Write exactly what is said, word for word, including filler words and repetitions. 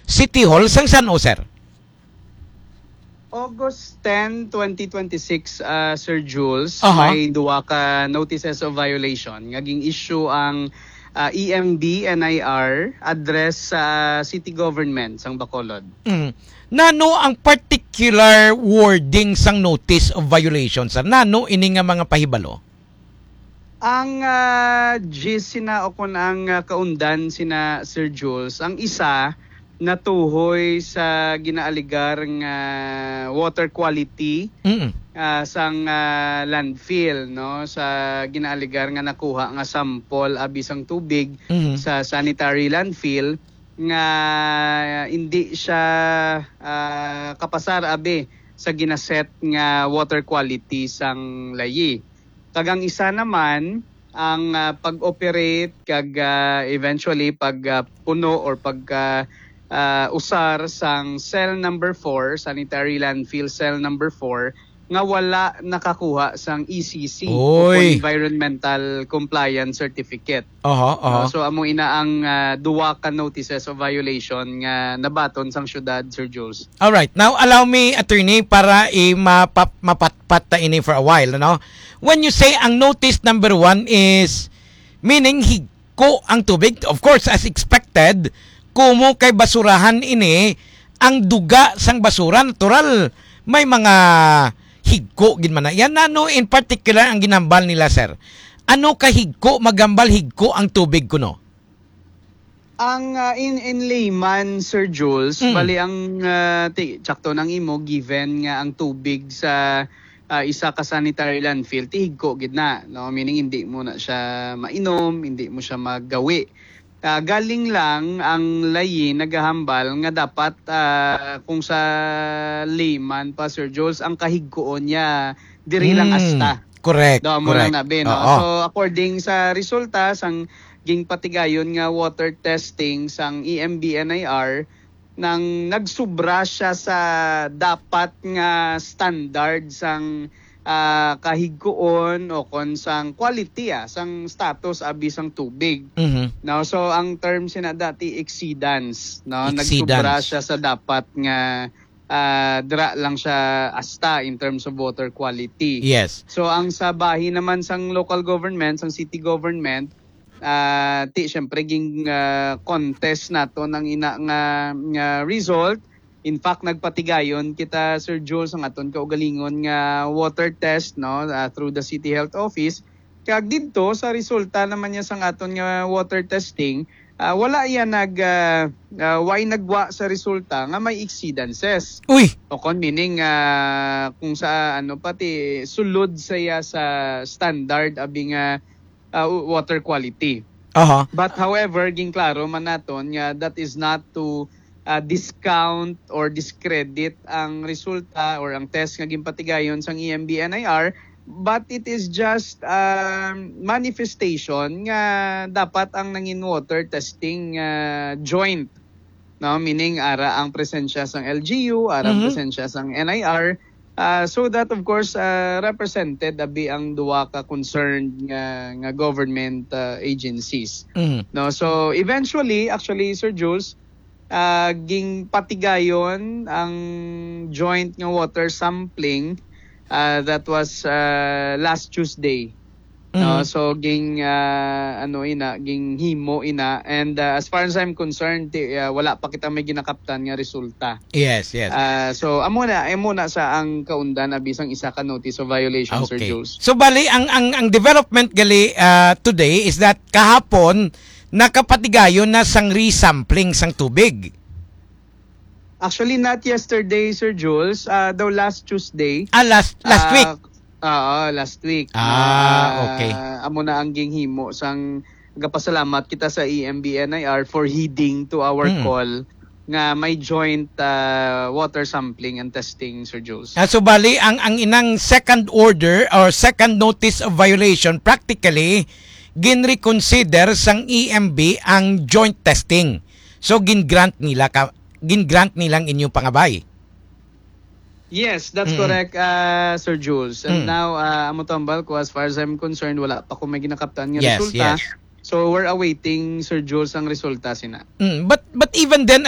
City Hall sang San Jose, sir? August ten, twenty twenty-six, ah, Sir Jules, Aha. may duwa ka notices of violation nga ging-issue ang, ah, E M B N I R address sa city government sang Bacolod. Mm. Nano ang particular wording sang notice of violation, sir? Nano ini nga mga pahibalo? Ang, ah, gist sina o kon ang, ah, kaundan sina Sir Jules, ang isa natuhoy sa ginaaligar nga water quality, Mm. ah, sang, ah, landfill, no, sa ginaaligar nga nakuha nga sample abi sang tubig Mhm. sa sanitary landfill nga hindi siya, ah, kapasar abi sa ginaset nga water quality sang layi. Kag ang isa naman, ang, ah, pag-operate kag, ah, eventually pag, ah, puno or pag, ah, ah, usar sang cell number four, sanitary landfill cell number four, nga wala nakakuha sang E C C o Oy. Environmental Compliance Certificate. Aha, aha. No? So, amo ina ang, ah, duwa ka notices of violation nga nabaton sang syudad, Sir Jules. All right. Now, allow me, attorney, para i-, mapap-, mapatpat ta ini for a while, no? When you say ang notice number one is, meaning higko ang tubig, of course, as expected, kumo kay basurahan ini, ang duga sang basura, natural, may mga higko gid man na. Yan, ano in particular ang ginambal nila, sir? Ano ka higko, magambal higko ang tubig kuno? Ang, ah, in, in layman, Sir Jules, Mm. bali ang, ah, ti-, tsakto nang imo, given nga ang tubig sa, ah, isa ka sanitary landfill, tihigko gid na, no? Meaning, hindi mo na siya mainom, hindi mo siya magawi. Ah, galing lang ang layi nagahambal nga dapat, ah, kung sa layman pa, Sir Jules, ang kahigkoon niya, diri lang Mm. asta. Correct, Daw mo lang correct. na, be, no? Oo. So, according sa resulta sang ginpatigayon nga water testing sang E M B N I R, nang nagsubra siya sa dapat nga standard sang, ah, kahigkoon o kon sang quality, ah, sang status abi sang tubig. Mhm. No? So, ang term sina dati exceedance, no? Nagsubra Exceedance. siya sa dapat nga, ah, dira lang siya asta in terms of water quality. Yes. So, ang sa bahin naman sang local government, sang city government, ah, ti, syempre, ging, ah, contest nato nang ina nga, nga result. In fact, nagpatigayon kita, Sir Jules, ang aton kaugalingon nga water test, no, ah, through the City Health Office. Kag didto, sa resulta naman niya sang aton nga water testing, ah, wala iya nag, ah, ah, way nagwa sa resulta nga may exceedances. Uy! O kon meaning, ah, kung sa, ano, pati sulod sa iya sa standard abi nga uh, water quality. Aha. But however, ginklaro man naton nga that is not to, uh, discount or discredit ang resulta or ang test nga ginpatigayon sang E M B N I R, but it is just, um, manifestation nga dapat ang nangin water testing, uh, joint, no? Meaning, ara ang presensya sang L G U, ara ang Mhm. presensya sang N I R, ah, so that, of course, ah, represented abi ang duwa ka concerned nga, nga government, ah, agencies. Mhm. No? So, eventually, actually, Sir Jules, ah, ginpatigayon ang joint nga water sampling, ah, that was, ah, last Tuesday. No? Mhm. So, ging, ah, ano ina, ging himo ina. And, ah, as far as I'm concerned, ti-, ah, wala pa kita may ginakaptan nga resulta. Yes, yes. Ah, so, amo na, amo na sa ang kaundan abi sang isa ka notice of violation, Sir Okay. Jules. So, bali, ang, ang, ang development gali, ah, today is that kahapon, nakapatigayon na sang resampling sang tubig. Actually, not yesterday, Sir Jules. Ah, daw last Tuesday. Ah, last, last Ah, week? Oo, last week. Ah, Ah, okay. amo na ang ginhimo sang gapasalamat kita sa E M B N I R for heeding to our Mm. call nga may joint, ah, water sampling and testing, Sir Jules. Ah, so bali, ang, ang inang second order or second notice of violation, practically, ginreconsider sang E M B ang joint testing. So, gin-grant nila ka, gin-grant nilang inyong pangabay. Yes, that's Mm-mm. correct, ah, Sir Jules. And Mm. now, ah, amo tambal ko, as far as I'm concerned, wala pa ko may ginakaptan nga Yes, resulta. yes. So we're awaiting, Sir Jules, ang resulta sina. Mm, but but even then,